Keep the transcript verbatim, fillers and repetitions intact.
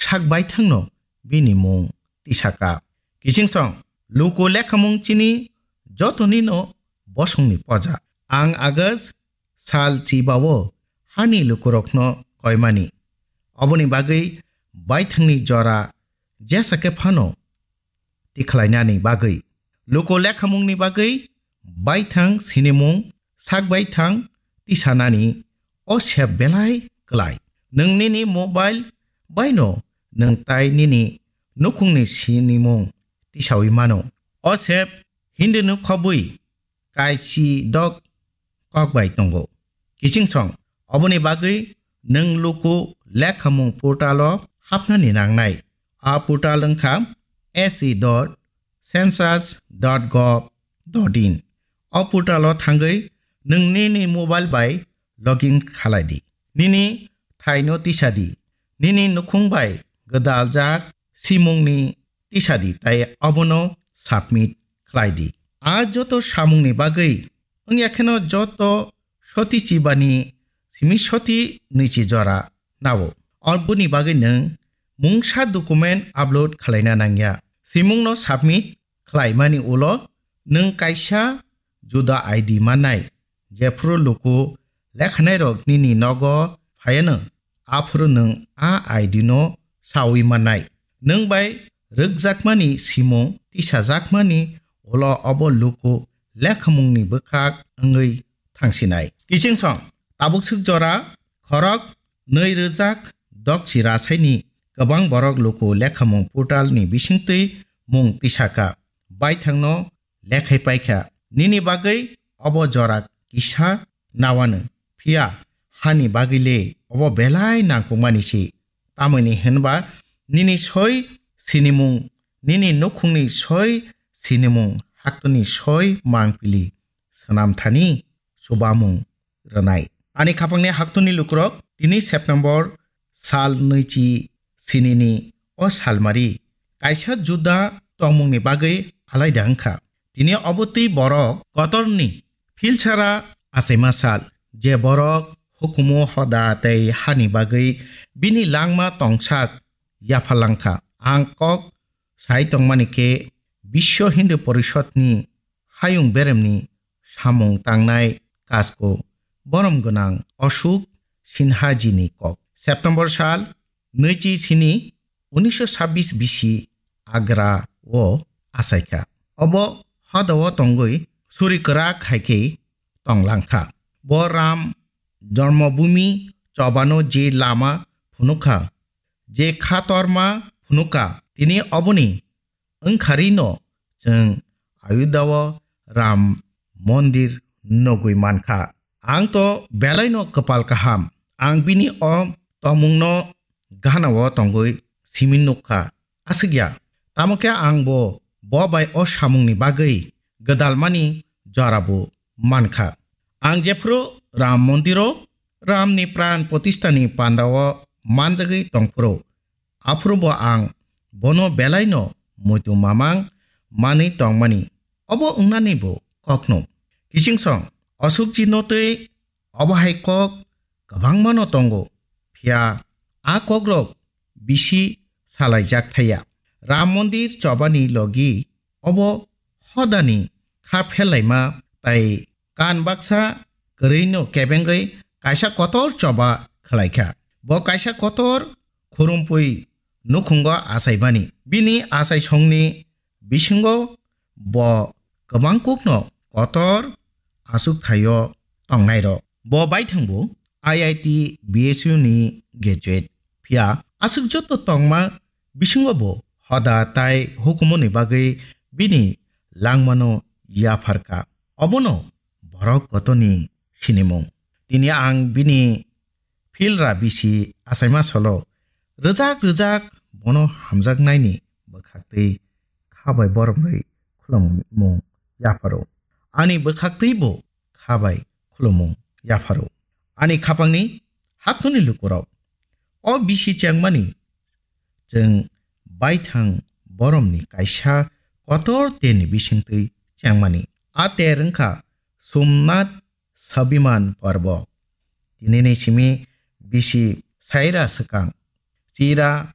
sak baithangno bini mung tisaka. Kichingsong, luku lekhamung chini jotonino bosongni poja. Ang August sal chibao hani lukurokno koimani. Oboni bagwi baithangni jora jesa khe phano tikhlainani bagwi. Luku lekhamungni bagwi baithang sinimung, sak baithang tisanani o sep belai klai. Nwng nini mobile baino nwng tai nini nukhungni sinimung tisawi mano. O sep Hindu ni khobwi kaichi dok kok bai tongo. Kichingsong, oboni bagwi nwng luku lekhamung portal o hapnani nangnai. A portal wngkha S E dot census dot gov dot in. O portal o thangwi nwng nini mobile bai login khalai di. Nini thaino tisa di. Nini nukhung bai gwdaljak simungni tisa di tei obono submit khlai di. A joto samungni bagwi wngya kheno joto soti chibani simi soti nwichi jora nao. Oboni bagwi nwng mungsa document upload khlaina nangya. Simungno submit khlaimani ulo nwng kaisa juda I D mannai. Jephuru luku lekhanairok nini nogo phaiano, aphuru nwng a I D no sawi mannai. Nwng bai rwkjakmani simung tisajakmani ulo obo luku lekhamungni bwkhak wngwi thangsinai. Kichingsong, tabukswk jora khorok nwi rwjak dokchi rasaini kwbang borok luku lekhamung portal ni bisingtwi mung tisaka, baithangno lekhai paikha. Nini bagwi obo jora kisa nawano, phiya hani bagwi le obo belai nangkukmani se. Tamoni hinba nini soi sinimung, nini nukhungni soi sinimung, haktoni soi mangpili swnamthani chubamung rwnai. Ani khapangni haktoni lukurok tini September sal nwichi sinini o salmari kaisa juda tongmungni bagwi alaida wngkha. Tini obo twi borok kotorni philsara achaima sal, je borok hukumu hoda tei hani bagwi bini langma tongsak yapharlangkha. Ang kok sai tongmani khe Biswa Hindu Porishodni hayung beremni samung tangnai kasko borom gwnang Ashok Sinha jini kok. September sal nwichi sini unisho sabbis bisi Agra o achaikha. Obo hoda o tongwi suri kwrak hai khe tonglangkha. Bo Ram Jormobhumi chobano je lama phunukha, je khatorma phunukha, tini oboni wngkharino chwng Ayodhya o Ram Mondir nugwi mankha. Ang to belaino kwpal kaham. Ang bini o tongmungno gana o tongwi simi nukha. Aswkya, tamo khe ang bo, bo bai o samungni bagwi gwdalmani jora bo mankha. Ang jephru Ram Mondiro Ramni pran pratistani pandao manjagwi tongphuru, aphuru bo ang bono belaino muitu mamang manwi tongmani, obo wngnani bo kokno. Kichingsong, Ashokji no twi obo hai kok kwbangmano tongo, phiya a kokrok bisi salaijak thaya. Ram Mondir chobani logi obo hodani kha phelaima tai kan baksa kwrwino kebengwi kaisa kotor choba khwlaikha. Bo kaisa kotor khurumpui nukhungo achaimani. Bini achaisongni bisingo bo kwbang kokno kotor achuk thaio tongnairok. Bo baithangbo I I T B S U ni graduate. Phiya aswk joto tongma bisingo bo hoda tai hukumuni bagwi bini langmano yapharkha. Obono borok kotoni sinimung. Tini ang bini philra bisi achaima solo rwjak rwjak bono hamjaknaini bwkhaktwi kha bai boromrwi khulumung yapharo. Ani bwkhaktwi bo kha bai khulumung yapharo. Ani khapangni haktoni lukurok, o bisi chengmani chwng baithang boromni kaisa kotor terni bisingtwi chengmani. A ter wngkha Somnath Sabiman Parbo. Tinini simi bisi saira swkang, chira